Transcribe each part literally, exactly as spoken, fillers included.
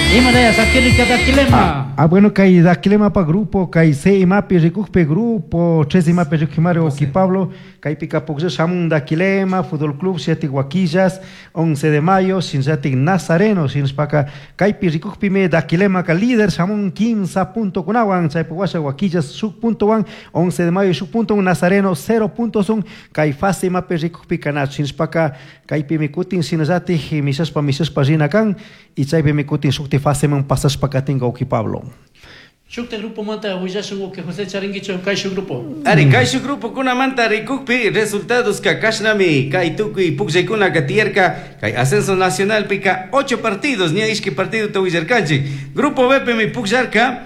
Imaraya sakirirka Daquilema. Ah, ah, bueno, kay Daquilema pa grupo, kay C imapi rikukpi grupo, tres imapi rikukimari wawki Pablo, kaypika puklla shamun Daquilema, Fútbol Club, siete Huaquillas, once de mayo, shinallatik Nazareno, shinashpaka kaypi rikukpimi Daquilema ka líder shamun quince punto kunawan, chaypi washa Huaquillas shuk puntowan, once de mayo shuk punto, Nazareno cero puntos un, kay fase imapi rikukpika nachu, shinashpaka kaypimi kutin shinallatik mishashpa mishashpa rina kan, y chaypimi kutin shukti faseman pasashpa katinka wawki Pablo. Shukta grupo manta willashun wawki José charinkichu kayshu grupo. Ari, kayshu grupo kunamanta rikukpi resultados ka kashnami kay tukuy pukllaykuna tiyarka kay ascenso nacional pika ocho partidos ña ishki partido ta willarkanchik. Grupo B mi pukllarka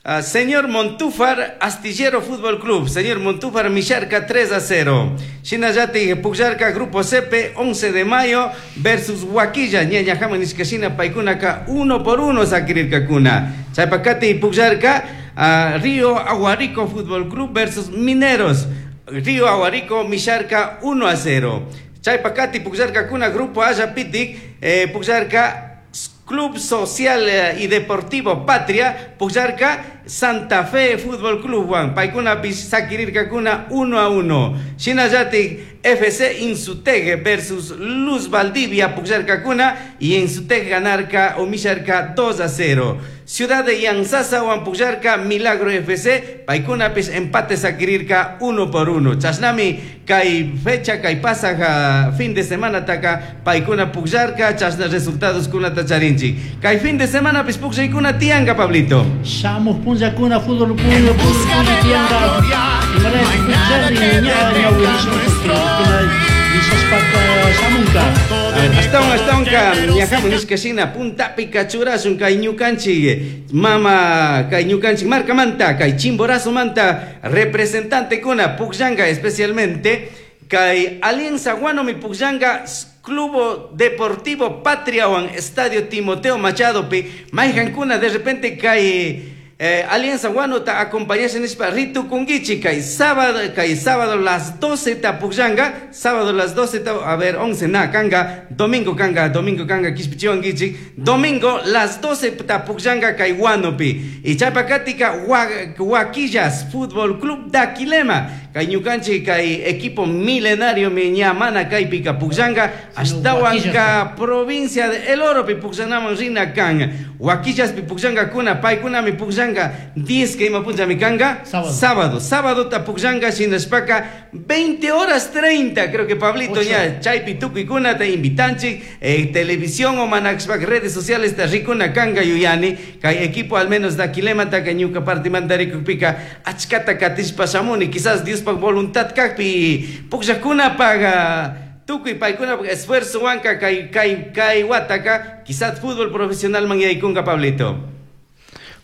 uh, señor Montúfar Astillero Fútbol Club, señor Montúfar misharka tres a cero. Shinallatik pukllarka Grupo C P once de mayo versus Huaquilla, ña ñajaman nishkashina paykunaka uno por uno sakirirkakuna. Chaypakati pukllarka uh, Río Aguarico Fútbol Club versus Mineros. Río Aguarico misharka uno a cero. Chaypakati pukllarkakuna Grupo Ayapitic, eh, pukllarka Club Social eh, y Deportivo Patria, pukllarka Santa Fe Fútbol Club wan, paykunapish sakirirkakuna uno a uno. Shinallatik F C Insuteg versus Luz Valdivia pukllarkakuna y Insuteg ganarka o misharka dos a cero. Ciudad de Yantzaza wan pukllarka Milagro F C, paykunapish empate sakirirka uno por uno. Chashnami kay fecha kay pasaja fin de semana taka paykuna pukllarka chashna resultados kunata charinchik. Kay fin de semana pis pukllaykuna tiyanka, Pablito. Shamuj punllakuna fútbol puño fútbol tiyanka. Imaraya pukllarri ña ñawirishun mishashpaka shamunka. Ashtawan ashtawanka ñajaman nishkashina puntapika churashun kay ñukanchik mama kay ñukanchik markamanta kay Chimborazo manta representante kuna pukllanka, especialmente kay Alianza Guanomi pukllanka Club Deportivo Patria wan Estadio Timoteo Machado pi. Mayhankuna de repente kay eh, Alianza Guano ta acompañasha nishpa ritukunkichik kay sábado kay sábado las doce ta pukllanka, sábado las doce ta, a ver, once na kanga, domingo kanga, domingo kanga, kishpichiwankichik, domingo las doce ta pukllanka kay Guanopi. Y chaypakatika Huaquillas Fútbol Club Daquilema, kay ñukanchik kay equipo milenario mi ña mana kaypika pukllanka, ashtawanka provincia de El Oro pi pukllanaman rina kan. Huaquillas pi pukllankakuna, paykunami pukllanka diez que ima punllami kanga. Sábado. Sábado, sábado ta pukllanka, shinashpaka veinte horas treinta, creo que Pablito Ocho. ña chaypi tukuykuna ta invitanchik, eh, televisión o manakshpak redes sociales ta rikuna kanga yuyani kay equipo al menos Daquilema ta kay ñuka partimanta rikukpika achkata katishpa shamuni, quizás Diospak voluntad kakpi pukllakkunapak tukuy paykunapak esfuerzo wanka kay kay kay wataka quizás fútbol profesional man yaykunka, Pablito.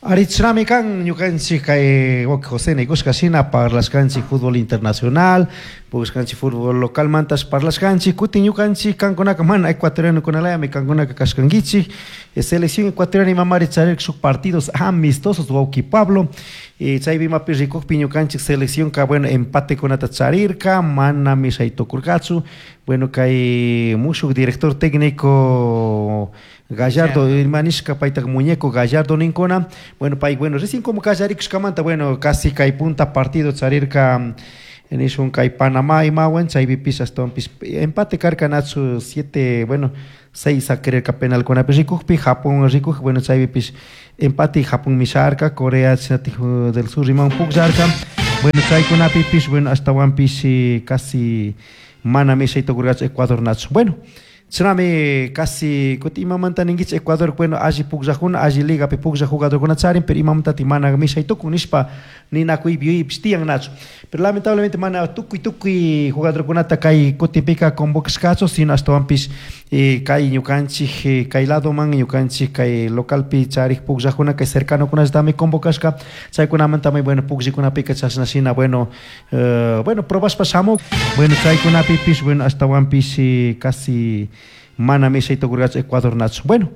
Ari, chashnami kan ñukanchik kay wawki José nikushka shina parlashkanchik fútbol internacional, pushkanchik fútbol local mantash parlashkanchik, kutin ñukanchik kankunaka mana ecuatoriano kunalayami kankunaka kashkankichik, eh, selección ecuatoriana imamari charirka shuk partidos amistosos, wawki Pablo, eh, chaypi imapi rikukpi ñukanchik selección ka bueno empate kunata charirka, mana mishay tukurkachu, bueno, kay mushuk director técnico Gallardo, ima nishka payta muñeco Gallardo ninkuna, bueno, pay, bueno, recién como kallarikushkamanta, bueno, casi kay punta partido charirka nishun kay Panamá imawan, chaypipish ashtawanpish empate karka nachu siete, bueno, seis sakirirka penal kunapi rikukpi, Japón rikuk, bueno, chaypipish empate Japón misharka, Corea del Sur imawan pukllarka, bueno, chaykunapipish, bueno, ashtawanpish casi mana mishay tukurkachu Ecuador nachu. Bueno, chashnami casi kutin imamanta ninkichik Ecuador, bueno, alli pukllakuna, alli ligapi pukllak jugadorkuna charin, pero imamantatik mana mishay tukun nishpa ninakuypi yuyaypish tiyan nachu. Pero lamentablemente mana tukuy tukuy jugadorkunata kay kutinpika convocashkachu, sino ashtawanpish eh, kay ñukanchik eh, kay ladoman ñukanchik kay localpi charik pukllakuna kay cercanokunallatami convocashka, chaykunamantami, bueno, pukllikunapika chashna shina, bueno, eh, bueno, probashpa shamuk, bueno, chaykunapipish, bueno, ashtawanpish eh, casi mana mishay tukurkachu Ecuador nachu. Bueno,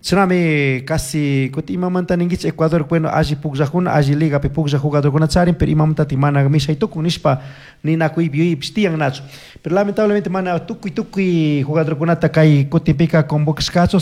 chashnami casi kutin imamanta ninkichik Ecuador, bueno, alli pukllakuna, alli ligapi pukllak jugadorkuna charin, pero imamantatik mana mishay tukun nishpa ninakuypi yuyaypish tiyan nachu. Pero lamentablemente mana tukuy tukuy jugadorkunata kay kutinpika convocashkachu.